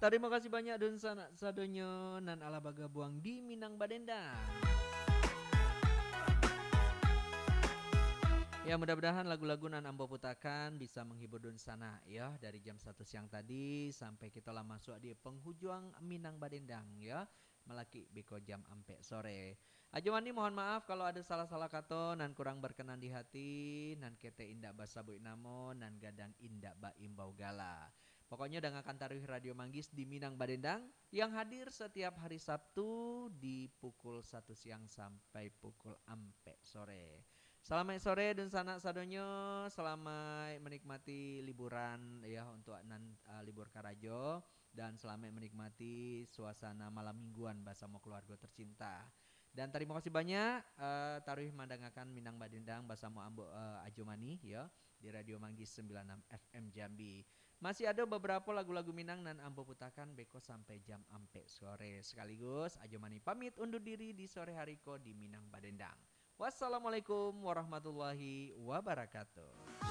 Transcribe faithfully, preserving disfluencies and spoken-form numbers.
Tarimo kasih banyak dunsanak sadonyo nan alah bagabuang di Minang Badendang. Ya, mudah-mudahan lagu-lagu nan ambo putakan bisa menghibur dunsanak, ya, dari jam satu siang tadi sampai kito lah masuk di penghujung Minang Badendang, ya, malakik beko jam ampek sore. Ajo Mani, mohon maaf kalau ada salah-salah kato, nan kurang berkenan di hati, nan ketek indak basabuik namo, nan gadang indak baimbau gala. Pokoknyo, dangakan taruih Radio Manggis di Minang Badendang, yang hadir setiap hari Sabtu di pukul satu siang sampai pukul ampek sore. Salamaik sore, dunsanak sadonyo. Salamaik menikmati liburan, ya, untuk nan, uh, libur karajo, dan salamaik menikmati suasana malam mingguan basamo keluarga tercinta. Dan tarimo kasih banyak, uh, taruih mandangakan Minang Badendang basamo ambo, uh, Ajo Mani, ya, di Radio Manggis sembilan enam F M Jambi. Masih ada beberapa lagu-lagu Minang nan ambo putakan beko sampai jam ampek sore. Sekaligus, Ajo Mani pamit undur diri di sore hari ko di Minang Badendang. Wassalamualaikum warahmatullahi wabarakatuh.